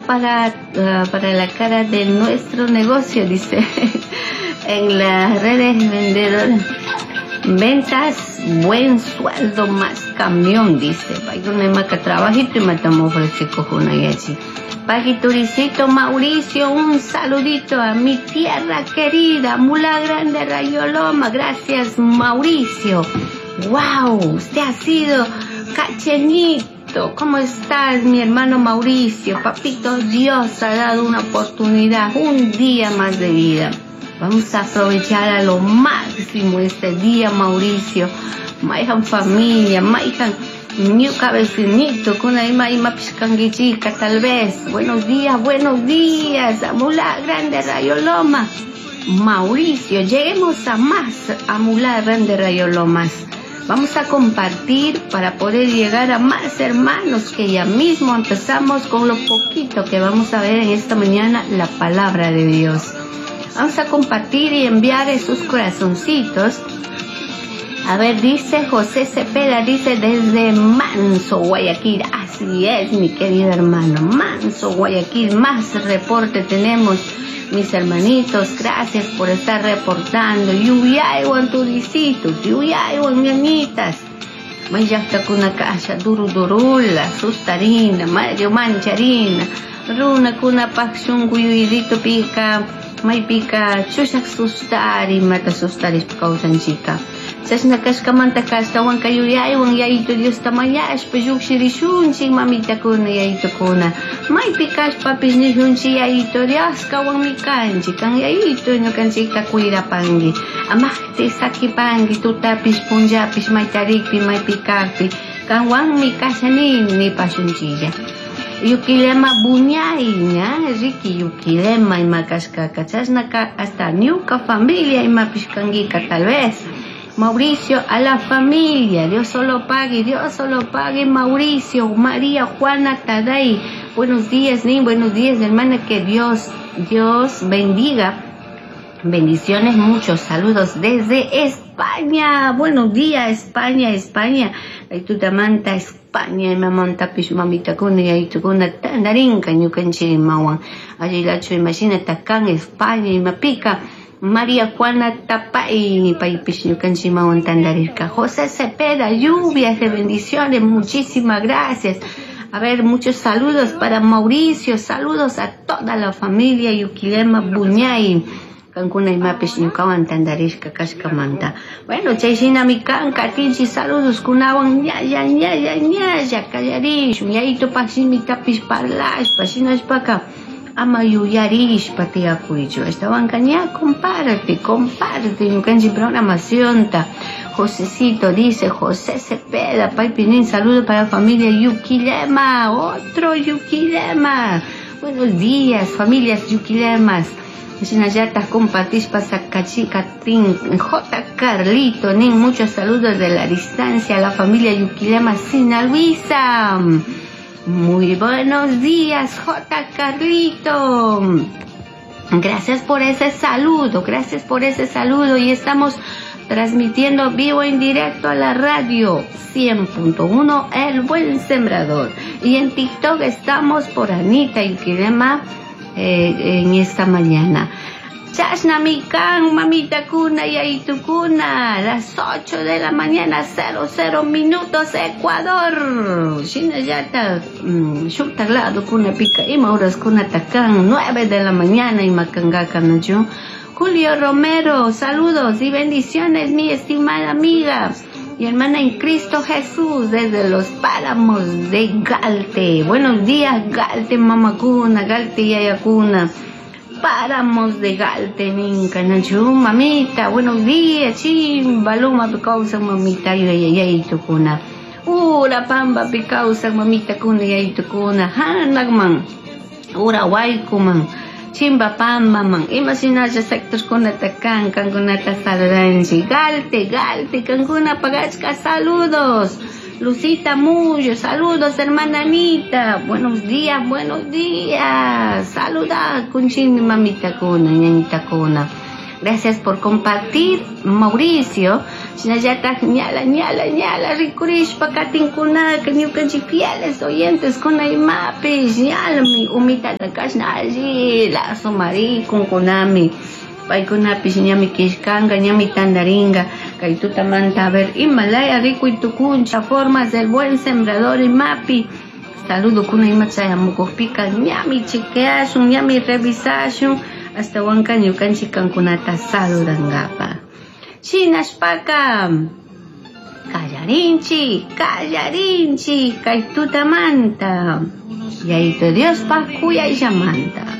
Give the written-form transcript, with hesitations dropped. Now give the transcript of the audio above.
para la cara de nuestro negocio, dice. En las redes vendedoras. Ventas, buen sueldo más camión, dice. Trabajito y matamos yachi. Pajituricito Mauricio, un saludito a mi tierra querida, Mula Grande Rayoloma. Gracias, Mauricio. ¡Wow! Usted ha sido cachenito. ¿Cómo estás, mi hermano Mauricio? Papito, Dios ha dado una oportunidad, un día más de vida. Vamos a aprovechar a lo máximo este día, Mauricio. Maijan familia, maijan ñuka vecinito, kuna ima ima pishkanguichica, tal vez. Buenos días, a Mula Grande Rayoloma. Mauricio, lleguemos a más a Mula Grande Rayolomas. Vamos a compartir para poder llegar a más hermanos que ya mismo empezamos con lo poquito que vamos a ver en esta mañana, la palabra de Dios. Vamos a compartir y enviar esos corazoncitos. A ver, dice José Cepeda, dice desde Manso, Guayaquil. Así es, mi querido hermano, Manso, Guayaquil. Más reporte tenemos, mis hermanitos. Gracias por estar reportando. Yuyaywan turicitos, yuyaywan ñañitas. Mayllaqta kunakasha, duru durula, sustarina, mario mancharina, runa kunapaq shunku yuyarito pika, maypika chushaq sustari, mata sustarishpa kawsanchika. Chashna kashkamanta kashtawanka yuyaywan yayito Diosta mañashpa llukshirishunchik mamitakuna yayitukuna. Maypi kashpapish nishunchik yayito Dios kawanmi kanchik, kan yayito ñukanchikta cuidapanki. Amaqti sakipanki tutapish punllapish maytarikpi maypi kakpi kanwanmi kashanini nipashunchilla. Yukilema buñay, ña, Ricky, yukilema ima kashkaka, chashnaka hasta ñuka familia imapish kankika tal vez. Mauricio, a la familia, Dios solo pague, Dios solo pague, Mauricio, María, Juana, Taday. Buenos días, Nin, buenos días, hermana, que Dios bendiga. Bendiciones, muchos saludos desde España. Buenos días, España, España. Tutamanta, España, mamanta pish, mamita kuna, yaytukuna, tandarinka, ñukanchik mawan. Allilachu, imagina, takan, España, imapica. María Juana Tapay, paypish ñukanchik mawan tandarirka. José Cepeda, lluvias de bendiciones, muchísimas gracias. A ver, muchos saludos para Mauricio, saludos a toda la familia Yuquilema Buñay. Kankuna imapish ñukawan tandarishka kashkamanta. Bueno, chay shinami kan, katinchi saludos kunawan ñalla, ñalla, ñalla, kallarishun, yayitupaj shimitapish parlashpa, shinashpaka ama yuyarishpa tiyakuychu. Ashtawanka ña comparte, comparte ñukanchik programacionta. Josecito dice, José Cepeda, paypi saludo para la familia Yuquilema, otro Yuquilema. Buenos días, familias Yuquilemas. Shinallata compartishpa sakachi katin J. Carlito, nin muchos saludos de la distancia a la familia Yuquilema Sinaluisa. Muy buenos días, J. Carlito. Gracias por ese saludo, gracias por ese saludo. Y estamos transmitiendo vivo en directo a la radio 100.1 El Buen Sembrador. Y en TikTok estamos por Anita Yuquilema en esta mañana. Chashnami kan, mamita kuna, yayitukuna, las 8 de la mañana, 00 minutos, Ecuador. Shinallata, shuktak lado kuna pika, ima horas kuna takan, 9 de la mañana, ima kangaka nachu. Julio Romero, saludos y bendiciones, mi estimada amiga y hermana en Cristo Jesús, desde los páramos de Galte. Buenos días, Galte, mamacuna, Galte, yayacuna. Páramos de Galte, ninca, nachu, mamita, buenos días, chimbaluma, picausa, mamita, yayayaytukuna. Ura, pamba, picausa, mamita, kuna, yaytukuna, hanagman, ura, guaycuman. Chimba pamba man, imagina sector kuna takan, kankuna ta saludanchi. Galte, Galte, kankuna pagachka, saludos. Lucita Mullo, saludos, hermana Anita. Buenos días, buenos días. Saluda, kunchimi mamita kuna, ñañita kuna. Gracias por compartir, Mauricio. Shinallataj ñala ñala ñala rikurishpa katinkunaka ñukanchik fieles oyentes kuna imapish ñalami umitata kashna allila sumarikunkunami. Paykunapish ñami killkanka ñami tandarinka kay tutamanta a ver imalaya rikuy tukunchik formas del buen sembrador imapi. Saludo kuna ima chayamukukpika ñami chequeashun ñami revisashun ashtawanka ñukanchik kankunata saludankapa. Shinashpaka kallarinchik kallarinchik kay tutamanta. Yayito Diospaj kuyayllamanta.